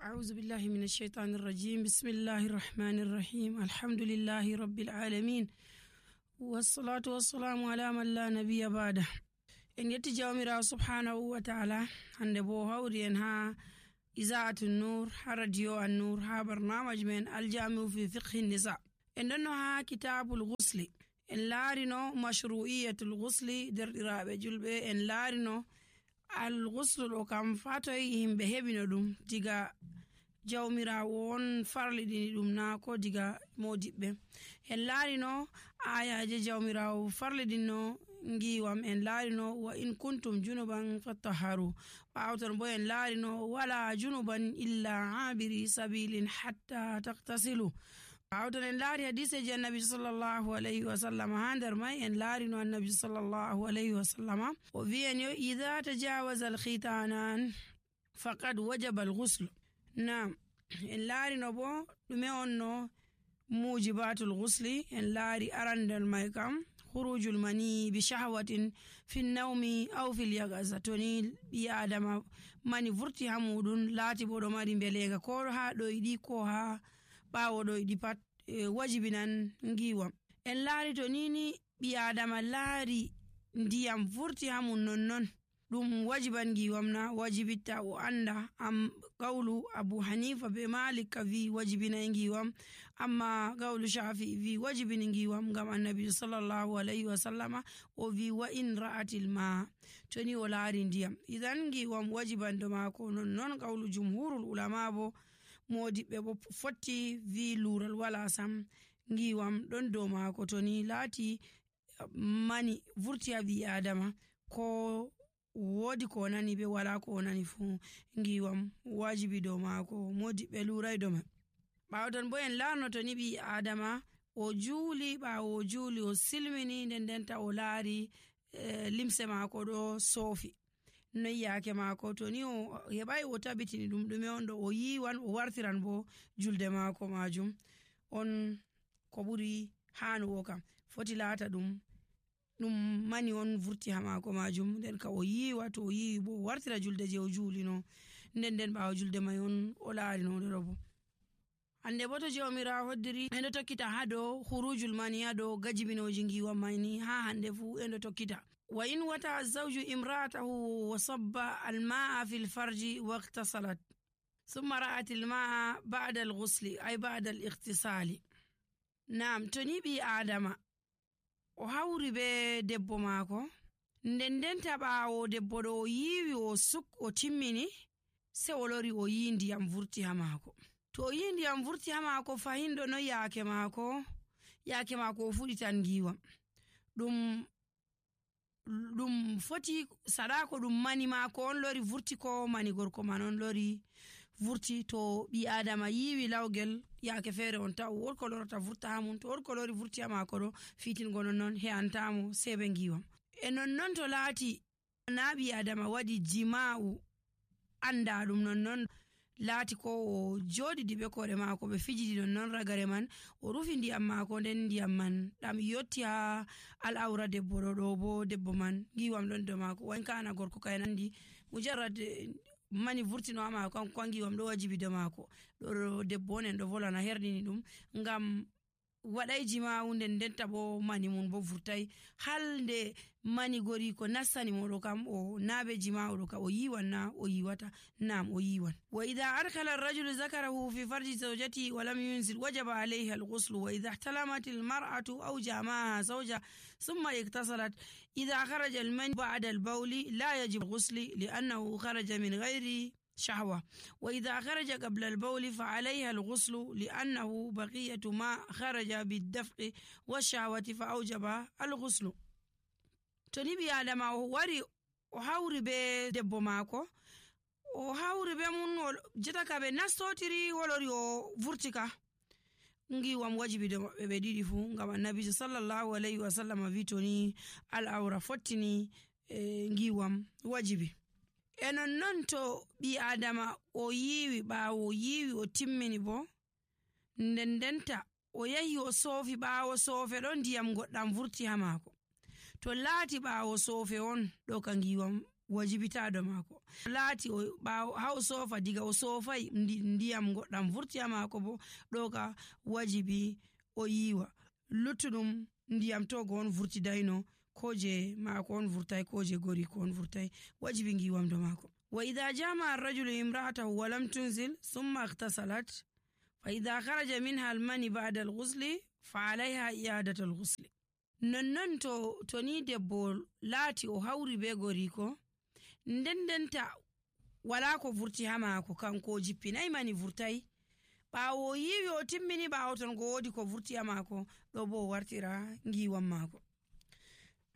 أعوذ بالله من الشيطان الرجيم. بسم الله الرحمن الرحيم. الحمد لله رب العالمين والصلاة والسلام على من لا نبي بعده. إن يتجاومر سبحانه وتعالى عند بو هوري ها إذاعة النور ها راديو النور ها برنامج من الجامع في فقه النساء. إنه ها كتاب الغسل إن لارنو مشروعية الغسل در رابع جلبة إن لارنو الغسل لو كان فاتوي بهبينو دوم ديغا jawmirawo on farlidini ɗum na ko diga modiɓɓe. En laarino ayaje jawmirawo farlidinno ngiwam, en laarino wa in kuntum junuban fattaharu. ɓawton bo en laarino wala junuban illa abiri sabilin hatta taktasilu. ɓawton en laari hadiseji annabi sallallahu alayhi wa sallam. ha nder may en laarino annabi sallallahu alayhi wa sallama o wi'en yo idha tajawaza alkhitanan faqad wajaba alghusl. Naam, en laarino bo ɗume on no mujibatul ghusli. en laari arandal may kam khurujul mani bi shahwatin fi nawmi aw fil yagaza. toni ɓi adama mani vurti ha muɗum laati bo ɗo mari belega ko ha ɗoyɗi ko ha ɓawo ɗoyɗi pat wajibinan ngiwam. en laari to nini ɓi adama laari ndiyam vurti ha mum nonnon ɗum wajiban ngiwam na wajibitta o anda. am qawlu Abu Hanifa be Malik ka vi wajibina ngiwam, amma qawlu Shafi vi wajibina ngiwam ngam annabi sallallahu alayhi wa sallama o vi wa in ra'atil ma toni o laari ndiyam idan ngiwam wajiban do mako. non qawlu jumhurul ulama bo modiɓɓe bo fotti vi lural wala sam ngiwam ɗon do mako toni laati mani vurti ha ɓi adama ko wodi ko nani be wala ko nani fu ngiwam wajibi do mako. modiɓɓe lurai do man. ɓawton bo en laarno to ni ɓi adama o juuli, ɓawo o juuli o silmini ndenta o laari limse mako ɗo soofi noy yake mako. to ni o heɓai o tabitini ɗum ɗume on ɗo o yiwan o wartiran bo julde mako majum on ko ɓuri hanuwo kam. foti laata ɗum mani on vurti ha mako majum nden ka o yiwa. to o yiwi bo o wartira julde je o juulino nden ɓawo julde may on o laarino ɗo bo. hande bo to jawmira hoddiri endo tokkita ha dow khurujul mani ha dow gajibinoji ngiwam mayni ha hande fu endo tokkita. wa in wata zawju imra'atahu wa sabba alma'a fil farji waqtasalat thumma ra'at alma'a ba'da alghusli ay ba'da al-ightisali. Naam, to ni ɓi adama o hawri be debbo maako ndenta ɓawo debbo ɗo o yiwi o suk o timmini se o lori o yi ndiyam vurti ha maako. to o yi ndiyam vurti ha maako fahindo no yake maako o fuɗi tan ngiwam ɗum foti sadako ɗum mani maako on lori vurti ko mani gorko man on lori vurti. to ɓi adama yiwi lawgel yake feere on taw worko lorata vurta ha mum, to worko lori vurti ha maako ɗo fitingo nonnon he'antamo sebe ngiwam. e nonnon to laati na ɓi adama waɗi jima'u anda ɗum nonnon laati ko o joɗidi be kore maako ɓe fijidi nonnon ragare man o rufi ndiyam maako nden ndiyam man ɗam yotti ha al'aura debbo ɗo bo debbo man ngiwam ɗon do maako. wankana gorko kay nandi mujarrad mani vurtino ha maako kanko ngiwam ɗo wajibi do maako. ɗo debbo on en ɗo volana herdini ɗum ngam waɗai jima'u ndenta bo mani mun bo vurtai halde mani gori ko nassani moɗo kam o nabe jima'u ɗo ka o yiwan na o yiwata. nam o yiwan. wa idha arkala ar-rajulu zakarahu fi farji zawjati wa lam yunzil wajaba alayha al-ghusl. wa idha ihtalamat al-mar'atu aw jama'a zawja thumma iktasalat idha kharaja al-mani ba'da al-bawli la yajib al-ghusl li'annahu kharaja min ghairi شهوة. وإذا خرج قبل البول فعليها الغسل لأنه بقية ما خرج بالدفق والشهوة فأوجب الغسل. تنبي آدم واري وحاوري be debbo mako o hawri be mun jetaka be nastotiri wolori o vurtika ngiwam wajibi do be didi fu ngam annabi sallallahu alayhi wa sallam vi toni al-awra fottini ngiwam wajibi. e nonnon to ɓi adama o yiwi ɓawo o yiwi o timmini bo ndenta o yahi o soofi ɓawo soofe ɗo ndiyam goɗɗam vurti ha maako. to laati ɓawo soofe on ɗo ka ngiwam wajibitaɗo maako laati haa o soofa diga o soofay ndiyam goɗɗam vurti ha maako bo ɗo ka wajibi o yiiwa luttuɗum ndiyam to go on vurtidayno ko je maako on vurtay ko je goriko on vurtay wajibi ngiwamdo maako. wa idha jama arrajulu imra'atahu wa lam tunzil thumma ightasalat fa idha kharaja minha almani ba'da alghusli fa alayha i'adatu alghusli. nonnon to ni debbo laati o hawri be goriko ndendenta wala ko vurti ha maako kanko o jippinay mani vurtay ɓaawo o yiwi o timmini ɓaawo ton go wodi ko vurti ha maako ɗo bo o wartira ngiwam maako.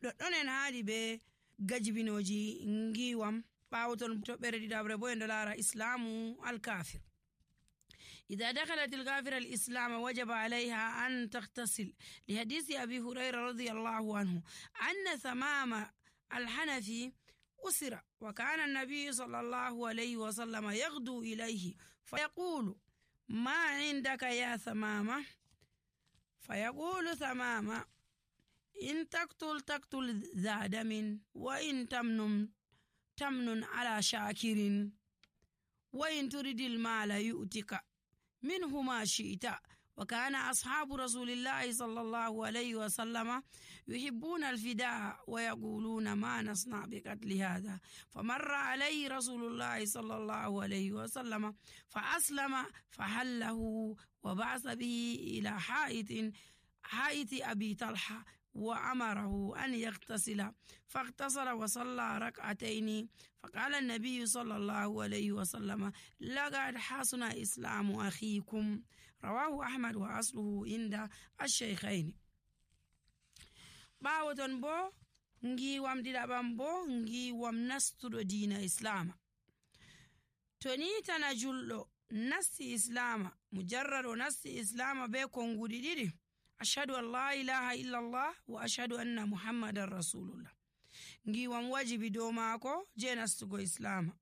ɗoɗɗon en haadi be gajibinoji ngiwam ɓaawo ton to ɓere ɗiɗaɓre bo en ɗo laara islamu alkafir. إذا دخلت الكافر الإسلام وجب عليها أن تغتسل لحديث أبي هريرة رضي الله عنه أن ثمام الحنفي أسر وكان النبي صلى الله عليه وسلم يغدو إليه فيقول ما عندك يا ثمامة فيقول ثمامة إن تقتل ذا دم وإن تمن على شاكر وإن تريد المال يؤتك منه ما شئت. وكان أصحاب رسول الله صلى الله عليه وسلم يحبون الفداء ويقولون ما نصنع بقتل هذا فمر عليه رسول الله صلى الله عليه وسلم فأسلم فحله وبعث به إلى حائط أبي طلحة وأمره أن يغتسل فاغتسل وصلى ركعتين فقال النبي صلى الله عليه وسلم لقد حسن إسلام أخيكم رواه أحمد وأصله عند الشيخين. باوتن بو ngiwam ɗiɗaɓam bo ngiwam nastuɗo diina islama to ni tana julɗo nasti islama mujarrad o nasti islama be konguɗi ɗiɗi ashhadu an la ilaha illallah wa ashhadu anna muhammadan rasulullah ngiwam wajibi dow maako je nastugo islama.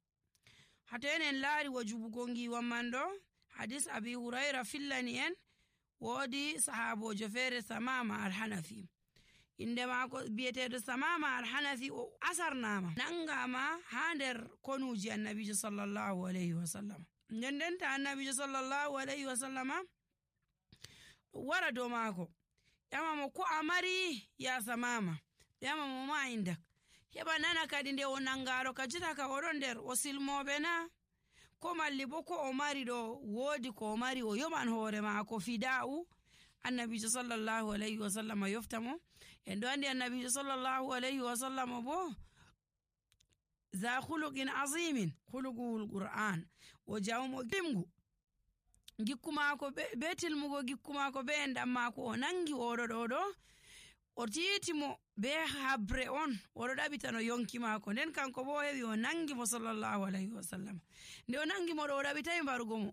hato enen laari wajubugo ngiwam man ɗo hadis abi hurayra fillani en woodi sahabojo feere samama alhanafi inde maako biyeteɗo samama alhanafi o asarnama nangama ha nder konuji annabijo sallallahu alayhi wa sallam ndendenta annabijo sallallahu alayhi wa sallama wara dow maako ƴamamo ko a mari ya samama ƴamamo ma indak heɓa nana kadi nde o nangaro ka jota ka oɗon nder o silmoɓe na ko malli bo ko o mari ɗo woodi ko o mari o yoɓan hoore maako fida'u annabijo sallallahu alayhi wa sallam yoftamo en ɗo andi annabijo sallallahu alayhi wa sallam bo za khuluqin azimin khuluqul qur'an o jawmo gimgu gikku maako be tilmugo gikku maako be endam maako o nangi oɗo ɗo o tiitimo be habre on oɗo ɗaɓitano yonki maako nden kanko bo heɓi o nangi mo sallallahu alayhi wa sallam nde o nangi mo ɗo o ɗaɓitayi mbarugo mo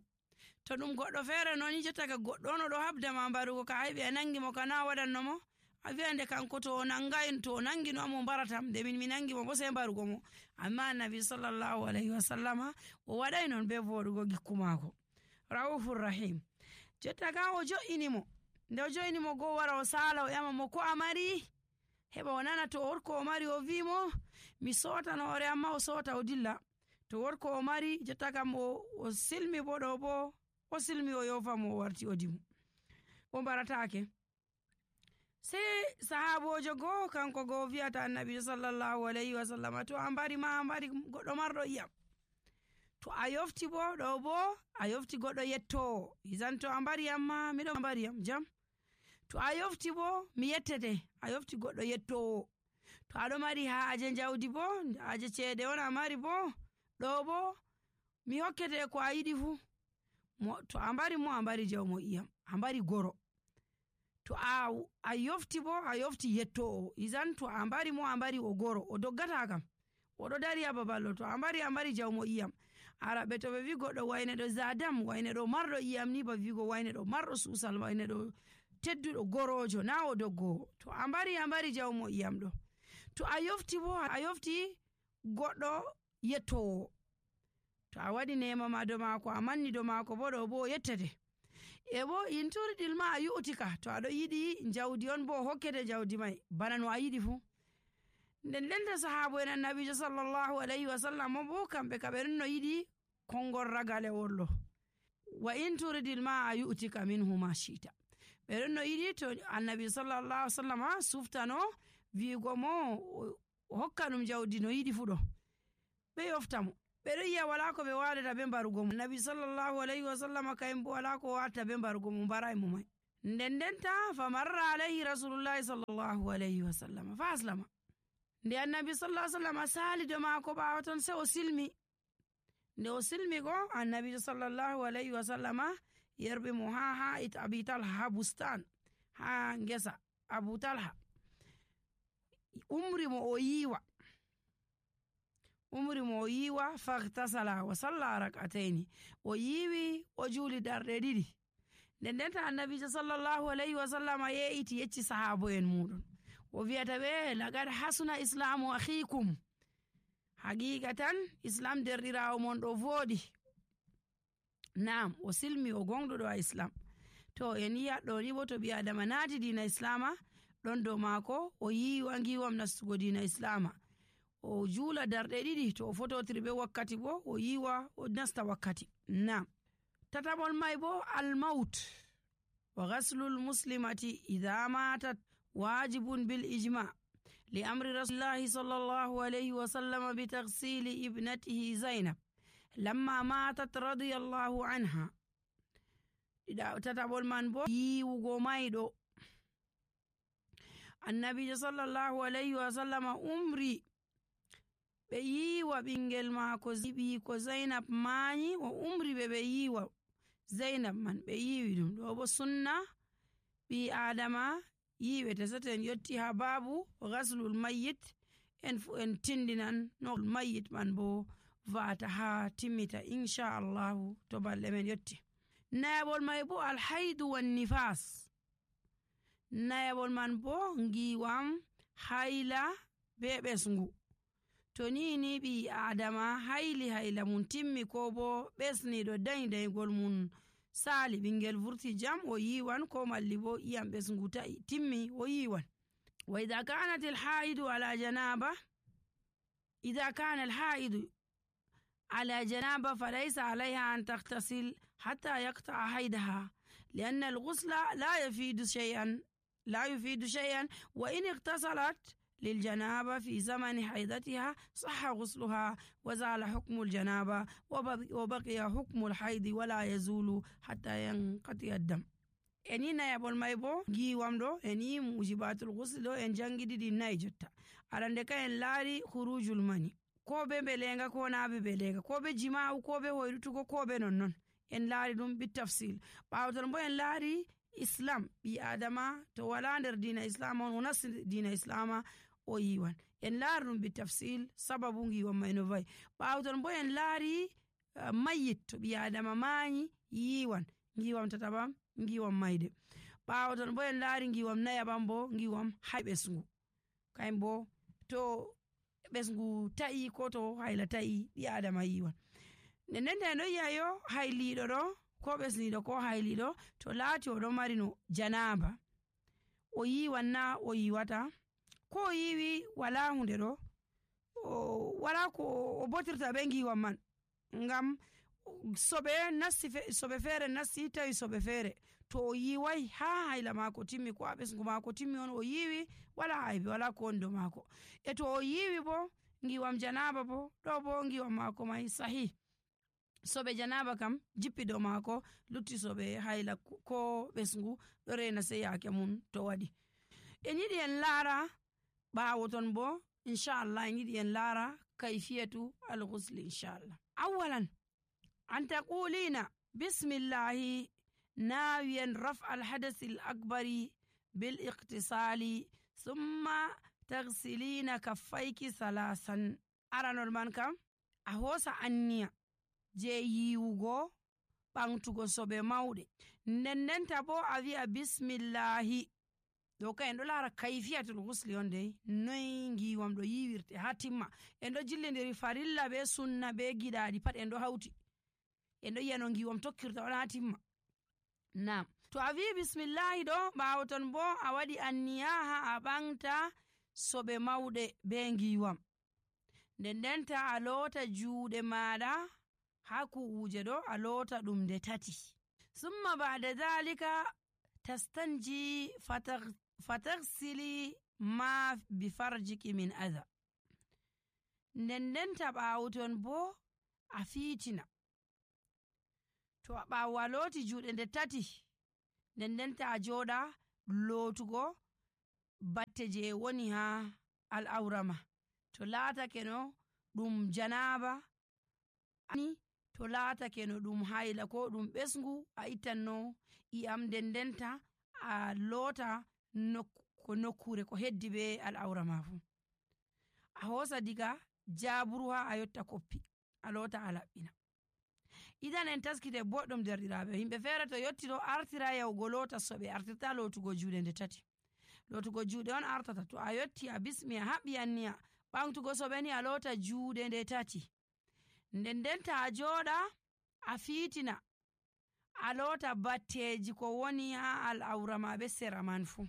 to ɗum goɗɗo feere noon jotta ka goɗɗo on oɗo habdama mbarugo ka heɓi a nangi mo kana waɗanno mo a wiya nde kanko to o nangi no amo mbaratam nde min mi nangi mo bo sey mbarugo mo amma annabi sallallahu alayhi wa sallama o waɗay noon be voɗugo gikku maako raufur rahim jotta ka o jo'ini mo nde o jo'ini mo go wara o sala o ƴama mo ko a mari heɓa o nana to worko o mari o wimo mi sotan hoore amma o sota o dilla to worko o mari jotta kam o silmi bo ɗo bo o silmi o yofamo o warti o dimu o mbaratake sei sahabojo goo kanko goo wiyata annabi sallallahu alayhi wa sallam to a mbari ma a mbari goɗɗo marɗo iyam to a yofti bo ɗo bo a yofti goɗɗo yettowo isan to a mbari amma miɗo mbari yam jam to a yofti bo mi yettete a yofti goɗɗo yettowo to aɗo mari haaje jawdi bo haaje ceede on a mari bo ɗo bo mi hokkete ko a yiɗi fu to a mbari mo a mbari jawmo iyam a mbari goro to a yofti bo a yofti yettowo isan to a mbari mo a mbari o goro o doggata kam oɗo dari ha baballo to a mbari jawmo iyam araɓe to ɓe wi goɗɗo wayne ɗo zadam wayne ɗo marɗo iyam ni ba wigo wayne ɗo marɗo susal wayne ɗo tedduɗo gorojo na o doggowo to a mbari jawmo iyam ɗo to a yofti bo a yofti goɗɗo yettowo to a waɗi nema ma do maako a manni do maako bo ɗo bo o yettete e bo in turiɗil ma a yu'tika to aɗo yiɗi jawdi on bo hokkete jawdi mai bana no a yiɗi fu nden denta sahabo en annabijo sallallahu alaihi wasallam bo kamɓe ka ɓe no yiɗi kongol ragalewol ɗo wa in turidil ma a yu'tika minhu ma shita ɓe no yiɗi to annabi sallallahu alaihi wasallam suftano wiigo mo o hokka ɗum jawdi no yiɗi fu ɗo ɓe yofta mo ɓe ɗon yiya wala ko ɓe wadata ɓe mbarugo mo annabi sallallahu alaihi wasallam kayum bo wala ko watta ɓe mbarugo mo mbaray mo may nden denta fa marra alayhi rasulullahi sallallahu alaihi wasallam fa aslama nde annabi sallallahu alaihi wasallam sali do maako ɓawo ton se o silmi nde o silmi go annabi sallallahu alaihi wasallam yerɓe mo ha abi talha ha bustan ha ngesa abu talha umri mo o yiwa fagtasala wa salla rak'ataini o yiwi o juuli darɗe ɗiɗi nden denta annabijo sallallahu alaihi wasallam ye'iti yecci sahabo en muɗum o wiyata ɓe lagad hasuna islamu akhikum haqiqatan islam derɗirawo mon ɗo voɗi naam o silmi o gonɗuɗo a islam to en yiya ɗo ni bo to ɓi adama naati dina islama ɗon dow maako o yiwa giwam nastugo dina islama o juula darɗe ɗiɗi to o fototiri ɓe wakkati bo o yiwa o nasta wakkati naam tataɓol may bo almaut wa ghaslul muslimati idha matat wajibun bil ijma li amri rasulillahi sallallahu alaihi wasallam bi taghsili ibnatihi zainab lamma matat radiyallahu anha tataɓol man bo yiwugo mayɗo annabijo sallallahu alaihi wasallam umri ɓe yiwa ɓingel maako zibi ko zainab mayi o umri ɓe yiwa zainab man ɓe yiwi ɗum ɗo bo sunna ɓi adama yiwete soten yotti ha babu ghaslul mayyit en tindinan no mayyit man bo vata ha timmita inchallahu to balɗe men yotti nayaɓol may bo alhaidu wan nifas nayaɓol man bo ngiwam hayla be ɓesngu to ni ɓi adama hayla mum timmi ko bo ɓesniɗo daygol mum sali ɓingel vurti jam o yiwan ko malli bo iyam ɓesngu ta'i timmi o yiwan wa idha kanat alhaidu ala janaba falaysa alayha an taghtasil hatta yaqta'a haydaha لأن الغسل لا يفيد شيئا وإن اغتسلت للجنابة في زمن حيضتها صح غسلها وزال حكم الجنابة وبقي حكم الحيض ولا يزول حتى ينقطع الدم eni nayabol may bo giwam ɗo eni mujibatul ghusl ɗo en jangidi ɗi nayi jotta arande ka en laari khurujul mani ko be belenga ko na be belenga ko be jima'u ko be hoyrutugo ko be nonnon en laari ɗum bi tafsil ɓawton bo en laari islam ɓi adama to wala nder dina islam on o nasti dina islama o yiwan en laari ɗum bi tafsil sababu giwam may no vayi ɓawton bo en laari mayyit to ɓi adama mayi yiwan giwam tataɓam giwam mayde ɓawton bo en laari giwam nayaɓam bo giwam hay ɓesngu kayen bo to ɓesngu ta'i ko to hayla ta'i ɓi adama yiwan nden en ɗo yi'a yo hayliɗo ɗo ko ɓesniɗo ko hayliɗo to laati o ɗon mari no janaba o yiwan na o yiwata ko o yiwi wala hunde ɗo wala ko o botirta ɓe giwam man ngam soɓe feere nasti tawi soɓe feere to o yiwai ha hayla mako timmi ko a ɓesngu mako timmi on o yiwi wala aybi wala ko woni dow mako e to o yiwi bo giwam janaba bo ɗo bo giwam mako may sahih soɓe janaba kam jippi dow mako lutti soɓe hayla ko ɓesngu ɗo rena sey yake mum to waɗi en yiɗi en laara ɓawo ton bo inchallah en yiɗi en laara kayfiyatu alghusli inchallah awalan an taqulina bismillahi nawiyan raf'a alhadasi alakbari bil iqtisali thumma taghsilina kaffayki salasan aranol man kam a hosa anniya je yiwugo ɓamtugo soɓe mawɗe ndendenta bo a wi'a bismillahi ɗo ka en ɗo laara kayfiyatul ghusli on dey noy giwam ɗo yiwirte ha timma en ɗo jillidiri farilla be sunna be giɗaɗi pat en ɗo hawti en ɗo yi'a no giwam tokkirta on ha timma nam to a wi bismillahi ɗo ɓawo ton bo a waɗi anniya ha a ɓamta soɓe mawɗe be ngiwam. Ndendenta a loota juuɗe maɗa ha ku'uje ɗo a loota ɗum nde tati. Summa ba'da dhalika tastanji fataghsili ma bi farjiki min adha. Ndendenta ɓaawuton bo a fiitina. To ɓaawo a looti juuɗe nde tati, ndendenta a jooɗa lootugo batte je woni ha al'aurama. To laatake no ɗum janaba ani, to laatake no ɗum haila ko ɗum ɓesngu, a ittanno i'am ndendenta a loota nokkure ko heddi be al'aurama fu. A hoosa diga jaburu ha a yotta koppi a loota a laɓɓina. Idan en taskite boɗɗum derɗiraaɓe, himɓe feere to yotti ɗo artira yahugo loota soɓe, artirta lootugo juuɗe nde tati. Lootugo juuɗe on artata. To a yotti a bismi a haɓɓi anniya ɓamtugo soɓe ni a loota juuɗe nde tati. Ndendenta a jooɗa a fiitina a loota batteji ko woni ha al'aurama be sera man fu.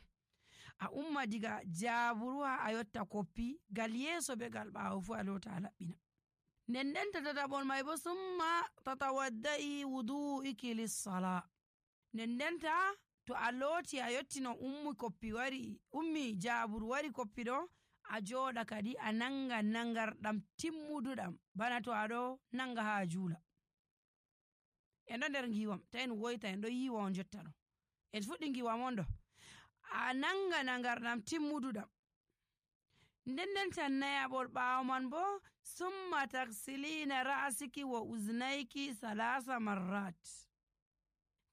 A umma diga jaburu ha a yotta koppi, gal yeeso be gal ɓaawo fu a loota a laɓɓina. Ndendenta tataɓol mai bo summa tatawadda'i wudu'iki lis-sala. Ndendenta to a looti a yotti no ummi jaburu wari koppi ɗo, a jooɗa kadi a nanga nangarɗam timmuduɗam bana to aɗo nanga ha juula. En ɗo nder ngiwam ta en woyta, en ɗo yiwa on jotta ɗo, en fuɗɗi ngiwam on ɗo. A nanga nangarɗam timmuduɗam. Ndendenta nayaɓol ɓaawo man bo summa taksilina ra'siki wa uznayki salasa marrat.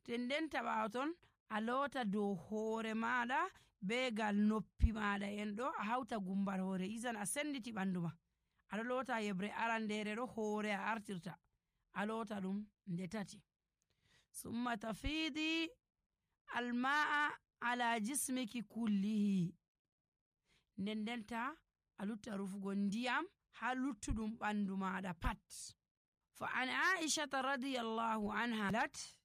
Ndendenta ɓaawo ton a loota dow hoore maɗa be gal noppi maɗa en ɗo a hauta gumbal hoore, izan a senditi ɓandu ma. Aɗo loota yebre arandere ɗo hoore a artirta a loota ɗum nde tati. Summa tafidi alma'a ala jismiki kullihi. Ndendenta a lutta rufugo ndiyam ha luttuɗum ɓandu maɗa pat. Fa an Aisha radiyallahu anha lat,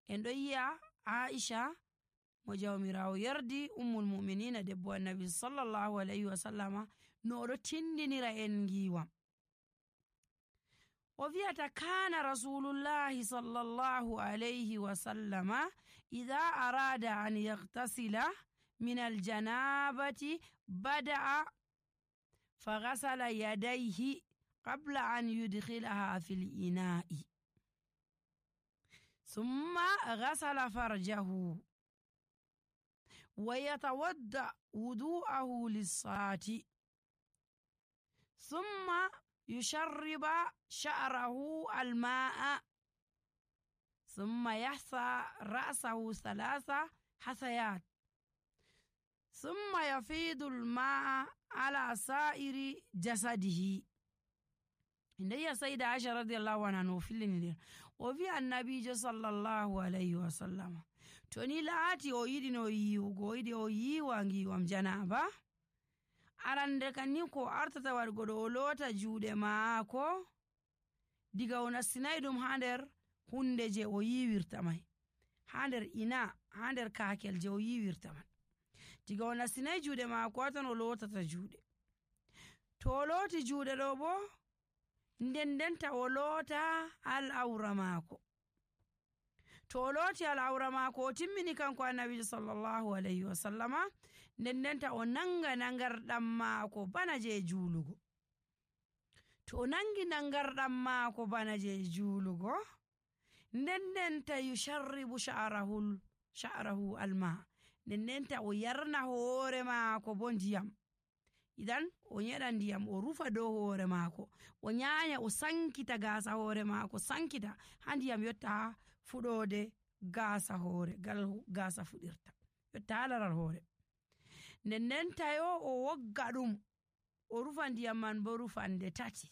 en ɗo yi'a Aisha mo jawmirawo yardi ummul mu'minina debbo annabi sallallahu alayhi wa sallama no oɗo tindinira en ngiwam. O wi'ata kana rasulullahi sallallahu alayhi wa sallama idha arada an yaghtasila min aljanabati bada'a faghasala yadayhi qabla an yudkhilaha fil ina'i thumma ghasala farjahu wa yatawadda wudu'ahu lis-salati thumma yusharriba sha'rahu al-ma'a thumma yahsa ra'sahu thalatha hasayat thumma yafidu al-ma'a ala sa'iri jasadihi. Inda sayida Aisha radiyallahu anha no fillini o wi annabijo sallallahu alayhi wa sallam to ni laati o yiɗi no yiwugo, o yiɗi o yiwa ngiwam janaba, arande kanni ko artata waɗgo ɗo o loota juuɗe maako diga o nastinai ɗum ha nder hunde je o yiwirta mai, ha nder ina, ha nder kakel je o yiwirta man. Diga o nastinai juuɗe maako tan o lootata juuɗe. To o looti juuɗe ɗo bo ndendenta o loota al'aura maako. To o looti al'aura maako o timmini kanko annabijo sallallahu alayhi wa sallama, ndendenta o nanga nangarɗam maako bana je juulugo. To o nangi nangarɗam maako bana je juulugo, ndendenta yusharribu sha'rahu alma, ndendenta o yarna hoore maako bo ndiyam. Idan o nyeɗa ndiyam o rufa dow hoore maako, o nyanya o sankita gaasa hoore maako, sankita ha ndiyam yotta ha fuɗode gaasa hoore, gal gaasa fuɗirta yotta ha laral hoore. Ndendenta yo o wogga ɗum o rufa ndiyam man bo rufande tati.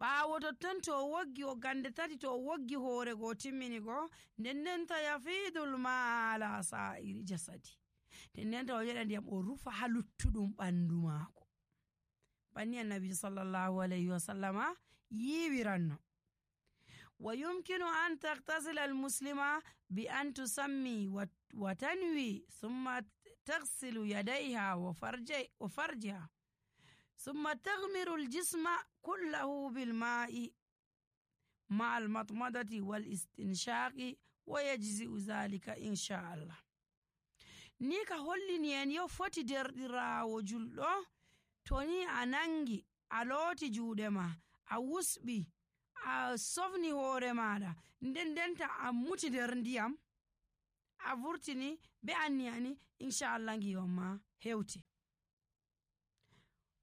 Ɓaawo totton to o woggi woggande tati, to o woggi hoore go timmini go, ndendenta yafidul ma ala sa'iri jasadi. Ndendenta o nyeɗa ndiyam o rufa ha luttuɗum ɓandu maako. Banni annabi sallallahu alayhi wa sallama yiwiranno. Wa yumkinu an taghtasila al-muslima bi an tusammi wa tanwi thumma taghsilu yadayha wa farjiha summa taghmiru al-jisma kullahu bil ma'i ma al-matmadati wal istinshaqi wa yajzi'u dhalika insha Allah. Ni ka hollini en yo foti derɗiraawo julɗo to ni a nangi a looti juuɗe ma a wusɓi a sofni hoore maɗa ndendenta a muti nder ndiyam a vurtini be anniyani inchallah ngiwam ma hewti.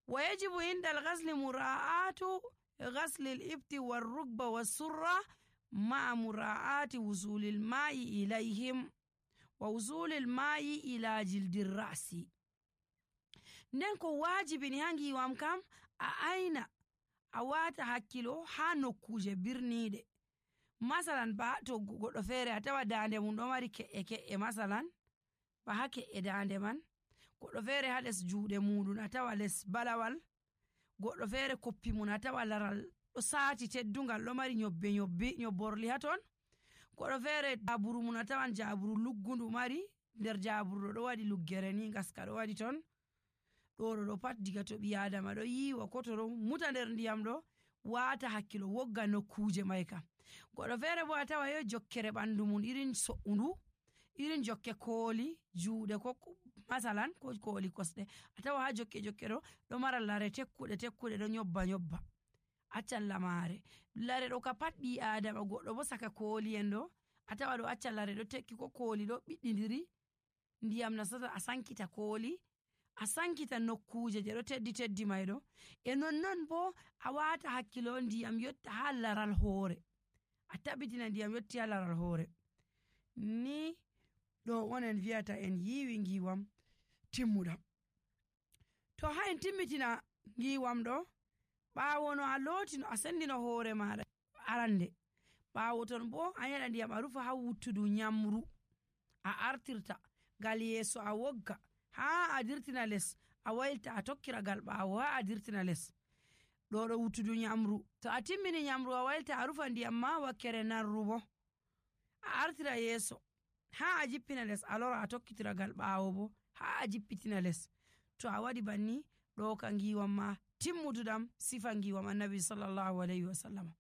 wa yajibu inda al-ghasli mura'atu ghasli al-ibti war-rukba was-surra ma'a mura'ati wusuli al-ma'i ilayhim wa wusuli al-ma'i ila jildi ar-ra'si. nden ko wajibi ni ha ngiwam kam a aina a wata hakkilo ha nokkuje birniɗe. masalan ba to goɗɗo feere a tawa dande mum ɗo mari ke'e masalan ba ha ke'e dande man, goɗɗo feere ha les juuɗe muɗum a tawa les balawal, goɗɗo feere koppi mum a tawa laral ɗo saati teddungal ɗo mari nyobborli ha ton, goɗɗo feere jaburu mum a tawan jaburu luggundu mari, nder jaburu ɗo waɗi luggere ni ngaska ɗo waɗi ton, ɗo pat diga to ɓi adama ɗo yiwa ko to ɗo muta nder ndiyam ɗo wata hakkilo wogga nokkuje mai kam. goɗɗo feere bo a tawa yo jokkere ɓandu mum irin so'undu, irin jokke kooli juuɗe ko masalan ko kooli kosɗe a tawa ha jokke ɗo mara lare tekkuɗe ɗo nyobba accan lamare lare ɗo ka pat ɓi adama. goɗɗo bo saka kooli en ɗo a tawa ɗo acca lare ɗo tekki ko kooli ɗo ɓiɗɗidiri ndiyam nasata a sankita kooli a sankita nokkuje je ɗo teddi mai ɗo e nonnon bo a wata hakkilo ndiyam yotta ha laral hoore, a tabbitina ndiyam yotti ha laral hoore. ni ɗo onen viyata en yiwi ngiwam timmuɗam. to ha en timmitina ngiwam ɗo ɓawo no a looti no a sendino hoore maɗa arande, ɓawo ton bo a yaɗa ndiyam a rufa ha wuttudu nyamru a artirta ngal yeeso a wogga ha a dirtina les a waylta a tokkira gal ɓawo ha a dirtina les ɗo wuttudu nyamru. to a timmini nyamru a waylta a rufa ndiyam ma wakkere narru bo a artira yeeso ha a jippina les a lora a tokkitira gal ɓawo bo ha a jippitina les. to a waɗi banni ɗo ka ngiwam ma timmuduɗam sifa ngiwam annabi sallallahu alayhi wa sallam.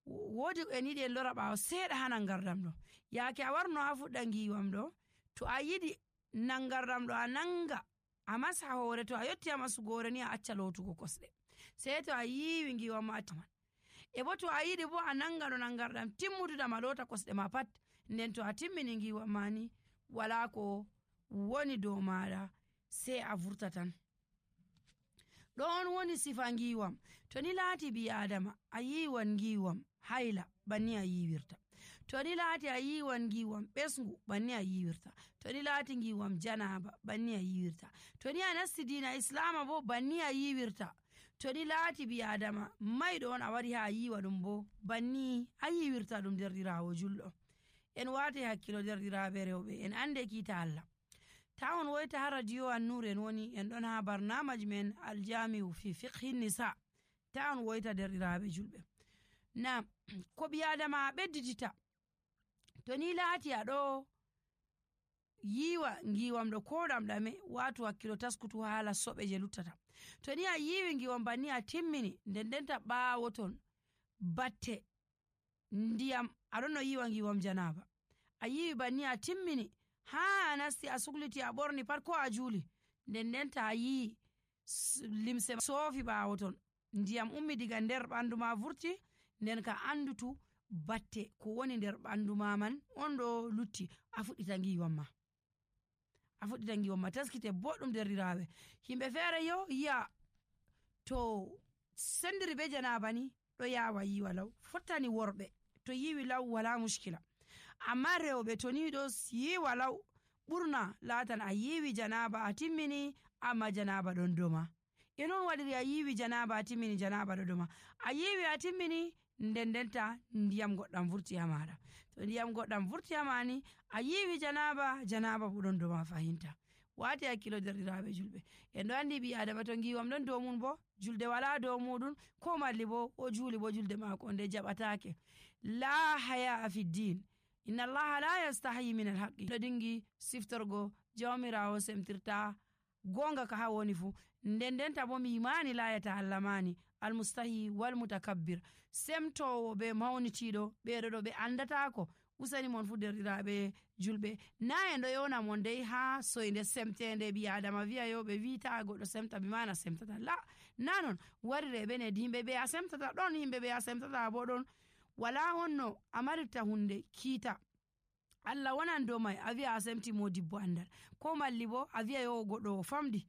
woodi en yiɗi en lora ɓawo seeɗa ha nangardam ɗo yaake a warno ha fuɗɗa ngiwam ɗo to a yiɗi nangardam ɗo a nanga a masa hoore, to a yotti a masugo hoore ni a acca lootugo kosɗe sey to a yiwi ngiwam ma taman e bo to a yiɗi bo a nanga no nangardam timmuduɗam a loota kosɗe ma pat, nden to a timmini ngiwam ma ni wala ko woni dow maɗa sey a vurta tan. ɗon woni sifa ngiwam. to ni laati ɓi adama a yiwan ngiwam hayla banni a yiwirta, to ni laati a yiwan ngiwam ɓesngu banni a yiwirta, to ni laati ngiwam janaba banni a yiwirta, to ni a nasti dina islama bo banni a yiwirta, to ni laati ɓi adama mayɗo on a wari ha a yiwa ɗum bo banni a yiwirta ɗum. derɗirawo julɗo en wati hakkilo derɗiraɓe rewɓe en ande kiita Allah. ta on woyta ha radio An-Nur en woni en ɗon ha barnamaji men aljami'u fi fiqhi nisa, ta on woyta derɗiraɓe julɓe. na ko ɓi adama a ɓedditita to ni laati a ɗo yiwa ngiwam ɗo ko ɗamɗame watu hakkilo taskutu haala soɓe je luttata. to ni a yiwi ngiwam banni a timmini ndendenta ɓawo ton batte ndiyam aɗon no yiwa ngiwam janaba a yiwi banni a timmini ha a nasti a sukliti a ɓorni pat ko a juuli ndendenta a yi limse soofi ɓawo ton ndiyam ummi diga nder ɓandu ma vurti, nden ka andutu batte ko woni nder ɓandu ma man on ɗo lutti a fuɗɗita ngiwam ma taskite boɗɗum derɗiraɓe. himɓe feere yo yi'a to sendiri be janaba ni ɗo yawa yiwa law, fottani worɓe to yiwi law wala mushkila, amma rewɓe to ni ɗo yiwa law ɓurna latan a yiwi janaba a timmini amma janaba ɗon doma. e non waɗiri a yiwi janaba a timmini janaba ɗo doma, a yiwi a timmini ndendenta ndiyam goɗɗam vurti ha maɗa, to ndiyam goɗɗam vurti ha mani a yiwi janaba bo ɗon doma fahinta. wati hakkilo derɗiraɓe julɓe en ɗo andi ɓi adama to ngiwam ɗon dow mum bo julde wala dow muɗum, ko malli bo o juuli bo julde mako nde jaɓatake. la haya fi din, inna allaha la yastahi min alhaqi ɗo dingi siftorgo jawmirawo semtirta gonga ka ha woni fu. Ndendenta bo mi yimani la yatahallamani almustahi wal mutakabbir, semtowo be mawnitiɗo ɓeɗo ɗo ɓe andatako. usani mon fu derɗiraɓe julɓe, na en ɗo yona mon dai ha soyde semtende ɓi adama wi'a yo ɓe wita goɗɗo semta bi mana semtata, la na non warire ɓe nedi yimɓe ɓe a semtata ɗon, yimɓe ɓe a semtata bo ɗon. wala honno a marirta hunde kiita Allah wonan dow mai a wi'a a semti modibbo andal, ko malli bo a wi'a yo goɗɗo o famdi